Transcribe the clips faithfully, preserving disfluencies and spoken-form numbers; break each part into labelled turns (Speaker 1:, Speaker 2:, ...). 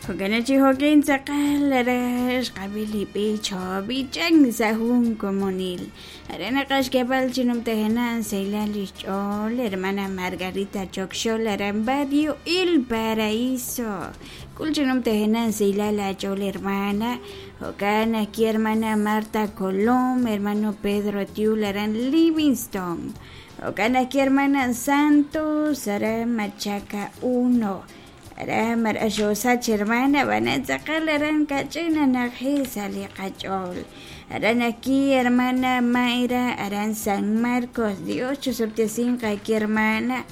Speaker 1: Jo'kan chi jo'kin tz'aqal ara xqab'i li b'ich b'ichan sa' jun komonil. Ara naqaxk'eeb'al chi numtajenaq saylal lix ch'ool hermana Margarita Chokxol aran barrio El Paraíso. K'ul chi numtajenaq saylal ach'ool hermana. Jo'kan aquí hermana Marta Colom, hermano Pedro Tiul aran Livingston. Jo'kan aquí hermana Santos aran Machaca uno. Ara mar'axosach hermana b'ana tz'aqal aran kach'in anaqji sa' li qach'ool. Aran aquí hermana Mayra aran San Marcos. Dios chusub'tesinqa aquí hermana.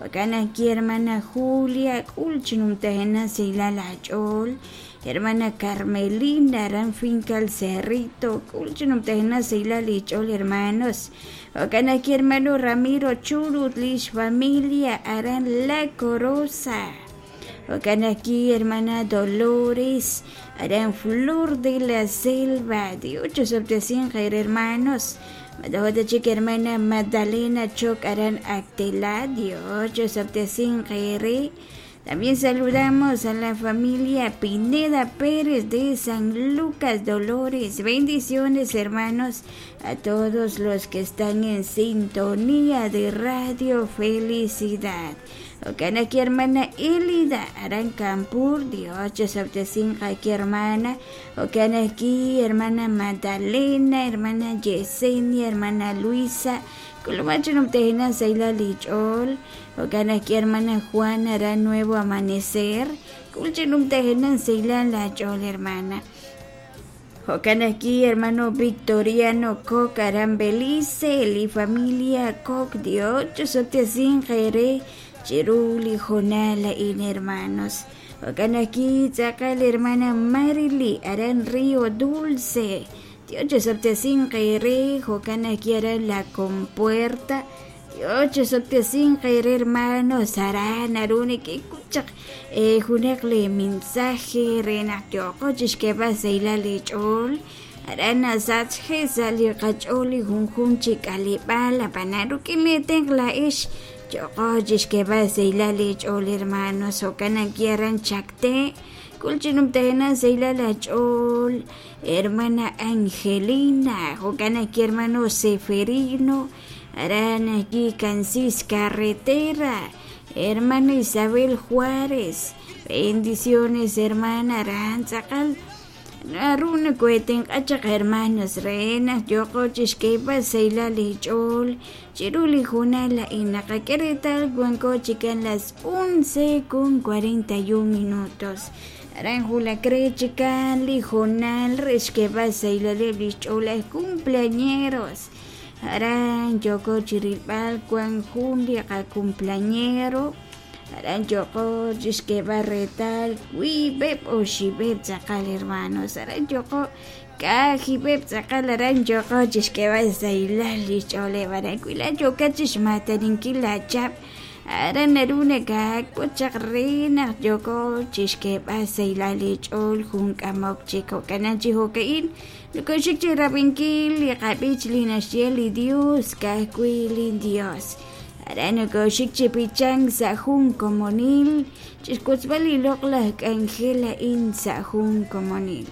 Speaker 1: Jo'kan aquí hermana Julia k'ul chi numtajenaq saylal ach'ool. Hermana Carmelina aran finca El Cerrito k'ul chi numtajenaq saylal ich'ool hermanos. Jo'kan aquí hermano Ramiro Churut lix familia aran La Corosa. Jo'kan aquí hermana Dolores aran Flor de la Selva. Dios chusub'tesinqa hermanos. Madahota chik hermana Magdalena Choc aran Actela. Dios chusub'tesinqa. También saludamos a la familia Pineda Pérez de San Lucas Dolores. Bendiciones, hermanos, a todos los que están en sintonía de Radio Felicidad. Jo'kan aquí hermana Elida aran Campur. Dios chusub'tesinqa aquí hermana. Jo'kan aquí hermana Magdalena, hermana Yesenia, hermana Luisa. Kulumacho numtejena saylal ich'ool. Jo'kan aquí hermana Juana aran Nuevo Amanecer. Kulche numtejena saylal ach'ool hermana. Jo'kan aquí hermano Victoriano Coc aran Belice li familia Coc. Dios chusub'tesinqa ere chiruli jonala in hermanos. Jo'kan aquí tz'aqal hermana Marily aran Río Dulce. Dios chusub'tesinqa ere. Jo'kan aquí aran La Compuerta. Dios chusub'tesinqa ere hermanos. Aran aruni kikuchaq eh junaq li mensaje renaq yoqo chixk'eeb'al saylal ich'ool. Aran nasachje sa' li qach'ool li junjun chi k'aleb'aal apana ruk'in li tenq la'ix yoqo chixk'eeb'al saylal ich'ool hermanos. Jo'kan aquí aran Chacté. K'ul chi numtajenaq saylal ach'ool hermana Angelina. Jo'kan aquí hermano Seferino aran aquí Cancis Carretera. Hermana Isabel Juárez. Bendiciones hermana aran tz'aqal naruna kuetenq'achaq hermanos renaq yoqo chixk'eeb'al saylal ich'ool chiru li junal la'in naqak'e retal wanko chikan las once con cuarenta y un minutos. Aran julakre chikan li jonal rexk'eeb'al saylaleb lix ch'ool aj cumpleañeros. Aran yoko chirilb'al wan jun li qacumpleañero. Aran yoko chixk'eeb'al retal wiib'eb oxib'eb tz'aqal hermanos. Aran yoko kajib'eb tz'aqal aran yoko chixk'eeb'al saylal lix ch'ooleb aran kuila yoka chixmataninkil lachap. Aran naruna kak'uchaq renaq yoko chixk'eeb'al saylal ich'ool jun k'amok chik. Jo'kan chi jo'ka'in nukuxik chi rab'inkil li qab'ich li naxye li Dios kajwi' li Dios. Aran nukuxik chi pichan sa' jun komonil chixk'utzb'al li loq'laj k'anjel a'in sa' jun komonil.